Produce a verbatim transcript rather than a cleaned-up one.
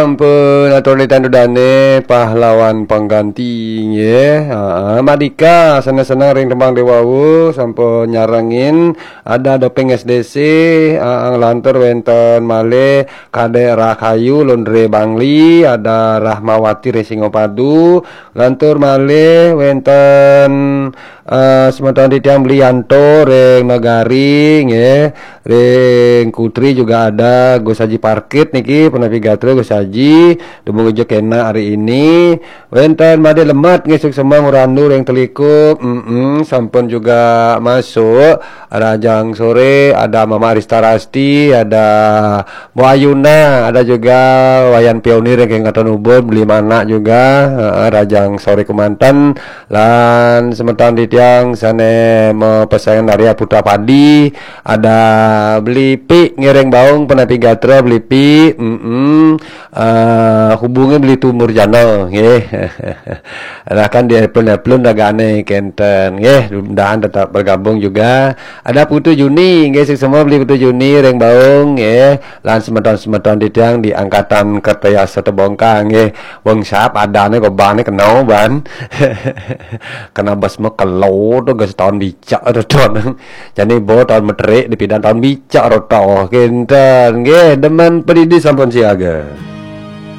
Ampun, atur titiang dudoné pahlawan pengganti, nggih. Heeh, Madika, seneng-seneng ring tembang Déwa Wu, sampun nyarengin, ada Doping S D C, heeh, lantur wénten malih Kadék Rahayu, Londré Bangli, ada Rahmawati ring Singapadu, lantur malih wénten, eh, semeton titiang Blianto ring Negari, nggih. Ring Kutri juga ada Gus Haji Parkit niki, punapi gatra Gus Haji, dumun ujuk kénak hari ini. Wénten Madé Lemet nggih, suksma ngrandu ring Telikup, mm sampun juga masuk. Rahajeng soré ada Mama Arista Rasti, ada Bu Ayuna, ada juga Wayan Pionir ring Kecamatan Ubud, Beli Manak juga, heeh, rahajeng soré kémanten. Lan semeton titiang sané mapesengan dari Putra Padi, ada Beli Pi ngiring baung, punapi gatra Beli Pi, mm eh, hubungi Beli Tumur Jana, nggih. Nah, kan di Eplon-Eplon ragané kénten, nggih, mudahan tetap bergabung juga. Ada Putu Juni, nggih, suksma Beli Putu Juni ring baung, nggih. Lan semeton-semeton titiang di angkatan Kertayasa Tebongkang, nggih. Wong sap adané gobané kena ban. Kena bas mekelo to gas taun bicak to ton. Jani bo taun meterik dipidan taun bicak ro to. Kénten, nggih, demen padidi sampun siaga.